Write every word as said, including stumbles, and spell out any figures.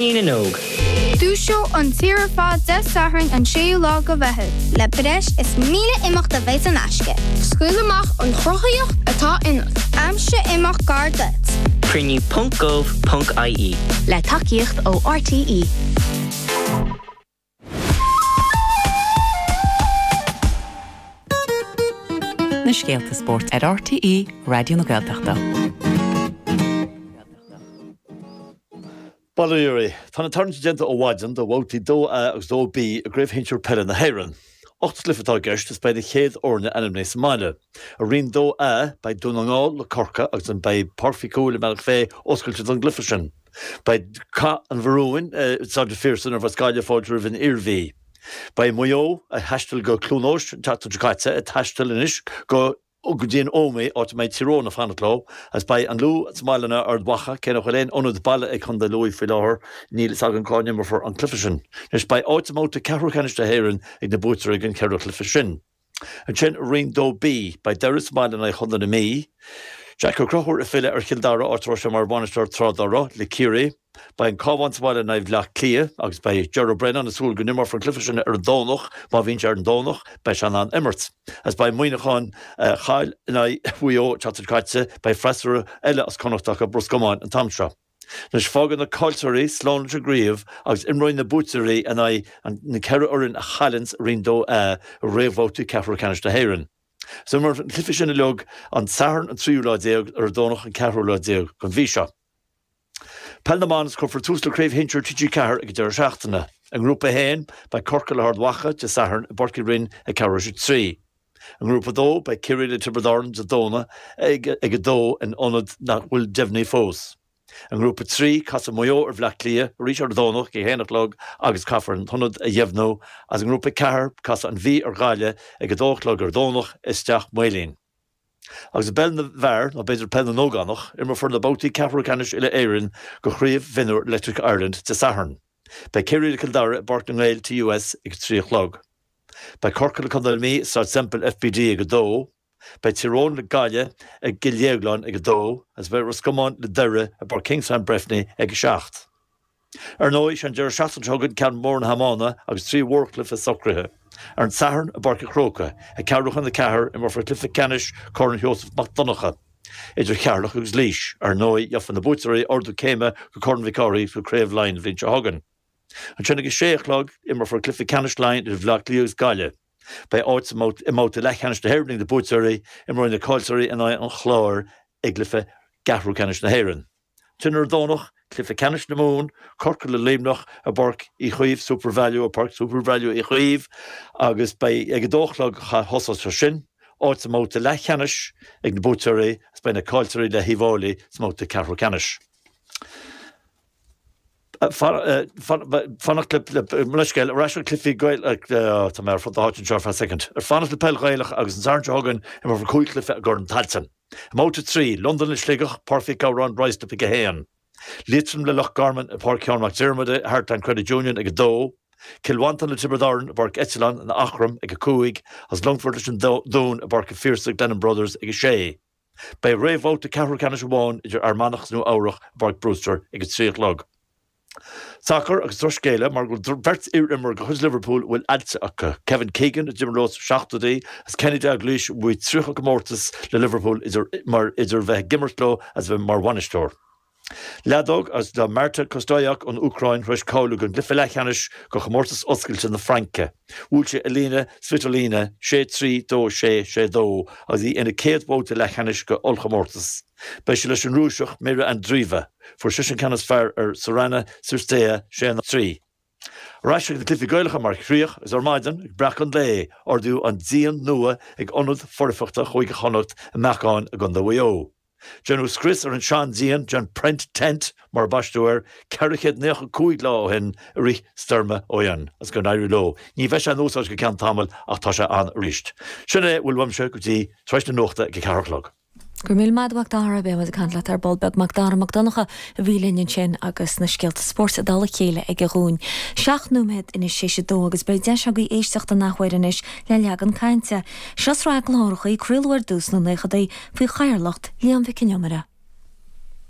na nÓg. Dúiseoidh an tír ar fad Dé Sathairn an séú lá de Mheitheamh. Le breis is míle imeacht a bheidh in aisce. Scaoil amach an chruthaíocht atá ionat. Aimsigh imeacht gar duit. Cruinniú ponc gov ponc ie. Le tacaíocht ó RTÉ. Na scéalta spóirt ar RTÉ Raidió na Gaeltachta. Bail ó Dhia oraibh. Tá na tarraingtí déanta ó mhaidin do bhabhtaí dó A agus dó B i gCraobh Shinsir Peile na hÉireann. Ocht gcluiche atá i gceist is beidh na chéad fhoirne ainmnithe sa mbaile. I Roinn dó A, beidh Dún na nGall le Corcaigh agus an beidh Páirc Mhic Cumhaill i mBealach Féich oscailte don gcluiche sin. Beidh Cath an Bharúin i Staid an Phiarsaigh nuair a bheas Gaillimh ag fáiltiú roimh an Iarmhí. Beidh Maigh Eo, a thaistil go Cluain Eois an tseachtain seo caite, ag taisteal anois go go dtí an Ómaigh, áit a mbeidh Tír Eoghain ag fanacht leo, agus beidh an Lú sa mbaile in aghaidh Ard Mhacha, cé nach bhfuil aon ionad baile ag Contae Lú faoi láthair, níl fhios againn cá n-imreofar an cluiche sin. Anois beidh áit i mbabhta ceathrú ceannais na hÉireann ag na buaiteoirí den cheithre chluiche sin. Ansin i Roinn dó B, beidh Doire sa mbaile in aghaidh Chontae na Mí, Jack Ó Conchúir ag filleadh ar Chill Dara, áit a raibh sé mar bhainisteoir tráth dá raibh, le Ciarraí. Beidh an Cabhán sa bhaile in aghaidh Bhaile Átha Cliath agus beidh Ger Brennan ag súil go n-imreofar an cluiche sin ar an Domhnach. Má bhíonn sé ar an Domhnach, beidh sé in ann imirt. Agus beidh Muineachán a chaill in aghaidh Mhaigh Eo an tseachtain seo caite, beidh freasúra eile as Connacht acu, Ros Comáin, an t-am seo. Anois fágann na caillteoirí slán leis an gcraobh agus imreoidh na buaiteoirí in aghaidh na ceithre fhoireann a chailleanns i Roinn dó A i réamhbhabhtaí ceathrú ceannais na hÉireann. So imreofar na cluichí sin uilig an Satharn an tríú lá déag ar an Domhnach an ceathrú lá déag den mhí seo. Peil na mBan is cuirfear tús le Craobh Shinsir T G ceathair ag an deireadh seachtaine. I nGrúpa a haon, beidh Corcaigh le hArd Mhacha Dé Sathairn i bPáirc Uí Rinn ag ceathrú tar éis a trí. I nGrúpa a dó, beidh Ciarraí le Tiobraid Árann Dé Domhnaigh ag ag a dó in ionad nach bhfuil deimhnithe fós. I nGrúpa a trí, casfaidh Maigh Eo ar Bhleá Cliath arís ar an Domhnach ag a haon a chlog agus caithfear an t-ionad a dheimhniú agus i nGrúpa a ceathair, casfaidh an Mhí ar Ghaillimh ag a dó a chlog ar an Domhnach i Steach Maoilín. Agus i bpeil na bhfear, nó b'fhéidir peil na n-ógánach, imreofar na babhtaí ceathrú ceannais uile-Éireann do Chraobh Mhionúir Electric Ireland Dé Sathairn. Beidh Ciarraí le Cill Dara i bPáirc na nGael T U S ag a trí a chlog. Beidh Corcaigh le Contae na Mí i Staid Semple F B D ag a dó. Beidh Tír Eoghain le Gaillimh i gCill Dhéagláin ag a dó agus beidh Ros Comáin le Doire i bPáirc Kingspan Breffni ag a seacht. Ar ndóigh, sé an deireadh seachtaine seo chugainn ceann mór na hiomána agus trí mhórchluiche socraithe. Ar an Satharn i bPáirc an Chrócaigh, ag ceathrú chun a ceathair, imreofar cluiche ceannais Chorn Sheosaimh Mac Donncha idir Cheatharlach agus Laois. Ar ndóigh, gheobhaidh na buaiteoirí ardú céime go Corn Mhic Cárthaigh go Craobh Laighean an bhliain seo chugainn. Ansin ag a sé a chlog, imreofar cluiche ceannais Laighean idir Bhaile Átha Cliath agus Gaillimh. Beidh áit i mbabhta leathcheannais na hÉireann ag na buaiteoirí, imreoidh na caillteoirí in aghaidh an Chláir i gcluiche ceathrú ceannais na hÉireann. Ansin ar an Domhnach, cluiche ceannais na Mumhan, Corcaigh le Luimneach i bPáirc Uí Chaoimh, SuperValu, i bPáirc SuperValu Uí Chaoimh agus beidh ag a dó a chlog a thosós sé sin, áit sa mbabhta leathcheannais ag na buaiteoirí agus beidh na caillteoirí le hUíbh Fháilí sa mbabhta ceathrú ceannais. Fanacht le, mo leithscéal, ar ais le cluichí Gael, tá mé ar fud na háite anseo ar feadh soicind. Ar fanacht le peil Ghaelach agus an Satharn seo chugainn imreofar cúig chluiche i gCorn Tailteann. I mbabhta a trí, Londain le Sligeach, Páirc Mhic Gabhráin, Ruislip ag a haon. Liatroim le Loch Garman i Páirc Sheáin Mac Diarmada, Heartland Credit Union ag a dó. Cill Mhantáin le Tiobraid Árann i bPáirc Eitleán in Eachroim ag a cúig agus Longfort leis an Dún i bPáirc an Phiarsaigh, Glennon Brothers ag a sé. Beidh réamhbhabhta ceathrú ceannais amháin idir Fhear Manach agus Nua Eabhrach i bPáirc Brewster ag a trí a chlog. Sacar agus drochscéala mar go bhfuil beirt iar-imreoir de chuid Liverpool a bhfuil ailse acu, Kevin Keegan a d'imir leo sna seachtóidí agus Kenny Dalglish a bhuaigh tríocha comórtas le Liverpool idir mar idir bheith ag imirt leo agus bheith mar bhainisteoir. Leadóg agus tá Marta Kostyuk ón Úcráin tar éis cáiliú don gcluiche leathcheannais do chomórtas oscailte na Fraince. Bhuail sí Elina Svitolina sé trí, dó sé, sé dó agus í ina céad bhabhta leathcheannais do ollchomórtas. Beidh sí leis an Rúiseach Mirra Andreeva. Fuair sise an ceann is fearr ar Sorana Cirstea sé trí. Ar ais ag na cluichí Gaelacha mar chríoch agus ar maidin ag breacadh an lae, ardaíodh an díon nua ag Ionad Foirfeachta Chúige Chonnacht i mBeacán i gContae Mhaigh Eo. Déanadh scrios ar an seandíon, an Prent Tent mar a baisteadh air, ceithre chéad naocha cúig lá ó shin i rith stoirme Éowyn agus go n-éirí leo. Ní bheidh sé in úsáid go ceann tamaill ach tá sé ann arís. Sin é a bhfuil uaimse go dtí tar éis na nuachta ag a ceathair a chlog. Go raibh míle maith agat a Mhac Dara, beidh muid ag caint leat ar ball beag. Mac Dara Mac Donncha a bhí linn ansin agus na scéalta spóirt i dtoll a chéile aige dhúinn. Seacht nóiméad anois théis a dó agus beidh deis agaibh éisteacht an athuair anois le Leagan Cainte. Seo sraith cláracha a craoladh ar dtús sna naochadaí faoi chathaoirleacht Liam Mhic Con Iomaire.